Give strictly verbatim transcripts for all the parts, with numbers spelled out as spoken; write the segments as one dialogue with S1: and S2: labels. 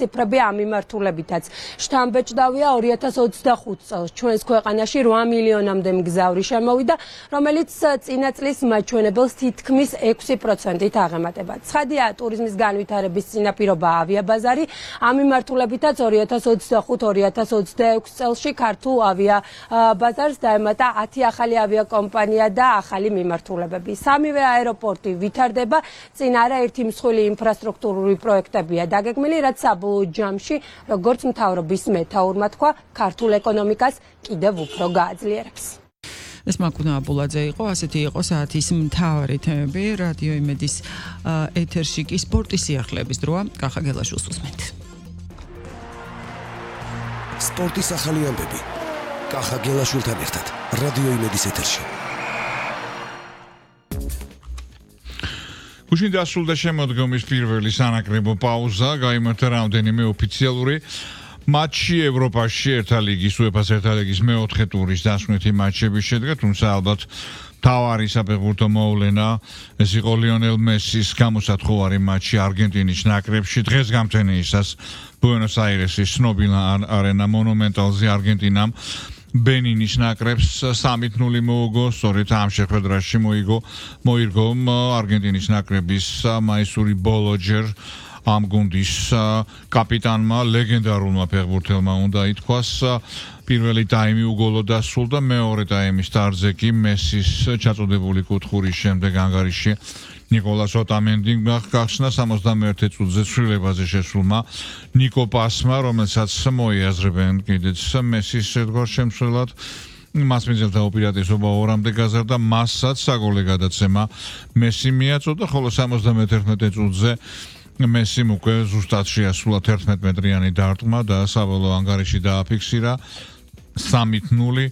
S1: ციფრები ამ მიმართულებითაც შთამბეჭდავია ორი ათას ოცდახუთ წელს ჩვენს ქვეყანაში რვა მილიონამდე მგზავრი შემოვიდა, რომელიც წინა წლის მაჩვენებელს თითქმის ექვსი პროცენტით აღემატება. ცხადია, ტურიზმის განვითარების წინაპირობაა ავიაბაზარი, ამ მიმართულებითაც ორი ათას ოცდახუთ ორი ათას ოცდაექვსი წელში ქართულ ავიაბაზარს დაემატა ათი ახალი ავიაკომპანია და ახალი მიმართულებები. სამივე აეროპორტი ვითარდება, წინ არა ერთი მსხვილი ინფრასტრუქტურული პროექტებია დაგეგმილი, რაც ჯამში, როგორც მთავრობის მეთაურმა თქვა, ქართულ ეკონომიკას კიდევ უფრო გააძლიერებს.
S2: ეს მაკუნა აბულაძე იყო, ასეთი იყო საათის მთავარი თემები, რადიო იმედის ეთერში კი სპორტის სიახლეების დროა, კახა გელაშვილს უსმენთ.
S3: სპორტის ახალი ამბები. კახა გელაშვილთან ერთად, რადიო იმედის ეთერში.
S4: გუშინ დასრულდა შემოდგომის პირველი სანაკრებო პაუზა, გაიმართა რამდენიმე ოფიციალური მატჩი ევროპაში, ერთა ლიგის, უეფა-ს ერთა ლიგის მეოთხე ტურის დასვენეთი მაჩები შედგა, თუმცა ალბათ მთავარი საფეხბურთო მოვლენა ეს იყო ლიონელ მესის გამოსათხოვარი მატჩი არგენტინის ნაკრებში. დღეს გამთენიისას ბუენოს-აირესის ცნობილ არენა მონუმენტალზე არგენტინამ ბენინის ნაკრებს სამით ნული მოუგო, სწორედ ამ შეხვედრაში მოიგო მოიგო არგენტინის ნაკრების მაისური ბოლო ჯერ ამ გუნდის კაპიტანმა, ლეგენდარულმა ფეხბურთელმა უნდა ითქვას. პირველი ტაიმი უგოლოდ დასრულდა, მეორე ტაიმის სტარტზე კი მესის ჩაწოდებული კუთხურის შემდეგ ანგარიში ნიკოლას ოტამენდი გახსნა სამოცდამეერთე წუთზე ცვლილებაზე შესულმა ნიკო პასმა, რომელსაც მოიაზრებენ კიდეც მესის ერთგვარ შემცველად. მას მიძებდა უპირატესობა ორამდე გაზარდა, მასაც საგოლე გადაცემა მესი მიაწოდა, ხოლო სამოცდამეთერთმეტე წუთზე მესიმ უკვე ზუსტად შეასრულა თერთმეტმეტრიანი დარტყმა და საბოლოო ანგარიში დააფიქსირა სამით ნული.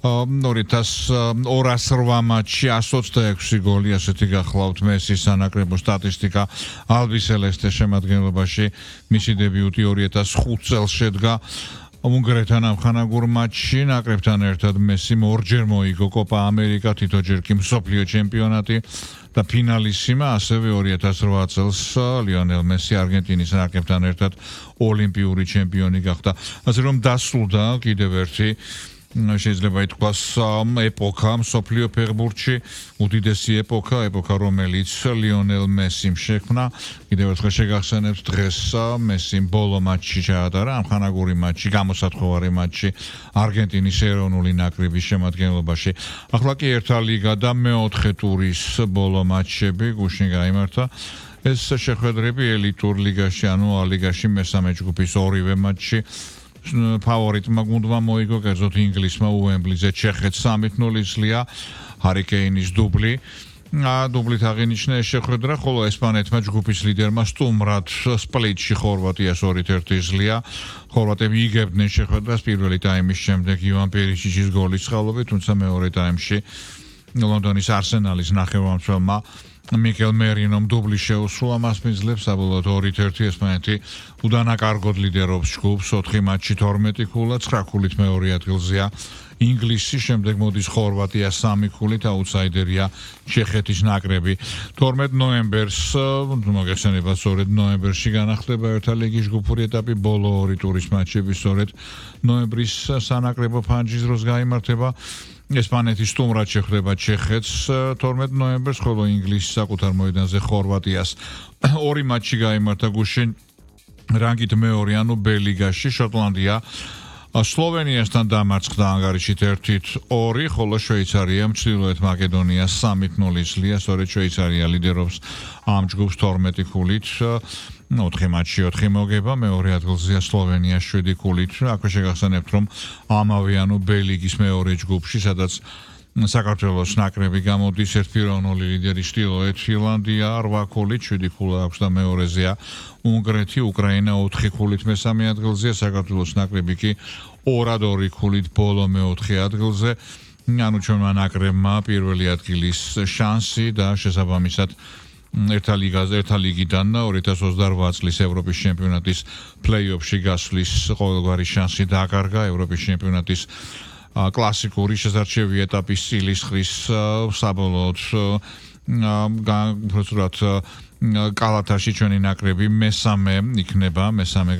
S4: ორი ათას ორას რვა მატჩი εκατს ოცდაექვსი გოლი, ასეთი გახლავთ მესის სანაკრებო სტატისტიკა. ალბი სელესტეს შემადგენლობაში მისი დებიუტი ორი ათას ხუთ წელს შედგა. უნგრეთთან ამხანაგურ მატჩში ნაკრებთან ერთად მესიმ ორჯერ მოიგო კოპა ამერიკა, თითოჯერ კი მსოფლიო ჩემპიონატი და ფინალისიმა, ასევე ორი ათას რვა წელს ლიონელ მესი არგენტინის ნაკრებთან ერთად ოლიმპიური ჩემპიონი გახდა. ასე რომ დასრულდა კიდევ ერთი შეიძლება ითქვას ეპოქა მსოფლიო ფეხბურთში, უდიდესი ეპოქა, ეპოქა რომელიც ლიონელ მესიმ შექმნა. კიდევ ერთხელ შეგახსენებთ, დღეს მესიმ ბოლო მატჩი ჩაატარა, ამხანაგური მატჩი, გამოსათხოვარი მატჩი არგენტინის ეროვნული ნაკრების შემადგენლობაში. ახლა კი ერთა ლიგა და მეოთხე ტურის ბოლო მატჩები გუშინ გაიმართა. ეს შეხვედრები ელიტურ ლიგაში, ანუ ა ლიგაში მესამე ჯგუფის ორივე მატჩი ფავორიტმა გუნდმა მოიგო, კერძოდ ინგლისმა უემბლიზე ჩეხეთს სამით ნული ძლია, ჰარი კეინის დუბლი. დუბლით აღინიშნა ეს შეხვედრა, ხოლო ესპანეთმა ჯგუფის ლიდერმა სტუმრად სპლიტში ხორვატიას ორით ერთი ძლია. ხორვატები იგებდნენ შეხვედრას პირველი ტაიმის შემდეგ ივან პერიჩიჩის გოლის წყალობით, თუმცა მეორე ტაიმში ლონდონის არსენალის ნახევარმცველმა მიკელ მერინომ დუბლი შეუსრულა, მას მიძლებს საბოლოოდ ორით ერთი ესპანეთი უდანაკარგოდ ლიდერობს ჯგუფს, ოთხი მატჩი თორმეტი ქულა, ცხრა ქულით მეორე ადგილზეა ინგლისი, შემდეგ მოდის ხორვატია სამი ქულით, აუტსაიდერია ჩეხეთის ნაკრები. თორმეტ ნოემბერს, მოგეხსენებათ, სწორედ ნოემბერში განახლდება ერთა ლიგის ჯგუფური ეტაპი, ბოლო ორი ტურის მატჩები სწორედ ნოემბრის სანაკრებო ფანჯის დროს გაიმართება. ესპანეთი სტუმრად შეხვდება ჩეხეთს თორმეტ ნოემბერს, ხოლო ინგლისი საკუთარ მოედანზე ხორვატიას. ორი მატჩი გაიმართა გუშინ რანგით მეორე, ანუ ბ ლიგაში. შოტლანდია სლოვენიასთან დამარცხდა ანგარიშით ერთით ორი, ხოლო შვეიცარიამ ჩრდილოეთ მაკედონიას სამით ნული ძლია, სწორედ შვეიცარია ლიდერობს ამ ჯგუფს თორმეტი ქულით. ოთხი მატჩი ოთხი მოგება, მეორე ადგილზეა სლოვენია შვიდი ქულით. აქვე შეგახსენებთ, რომ ამავე, ანუ ბ ლიგის მეორე ჯგუფში, სადაც საქართველოს ნაკრები გამოდის, ერთპიროვნული ლიდერი ჩრდილოეთ ირლანდია რვა ქულით, შვიდი ქულა აქვს და მეორეზეა უნგრეთი, უკრაინა ოთხი ქულით მესამე ადგილზეა, საქართველოს ნაკრები კი ორად ორი ქულით ბოლო მეოთხე ადგილზე. ანუ ჩვენმა ნაკრებმა პირველი ადგილის შანსი და შესაბამისად ერთა ლიგაზე, ერთა ლიგიდან ორი ათას ოცდარვა წლის ევროპის ჩემპიონატის პლეი-ოფში გასვლის ყოველგვარი შანსი დააკარგა. ევროპის ჩემპიონატის კლასიკური შესარჩევი ეტაპის სილისხრის საბოლოოდ უბრალოდ კალათაში ჩვენი ნაკრები მესამე იქნება, მესამე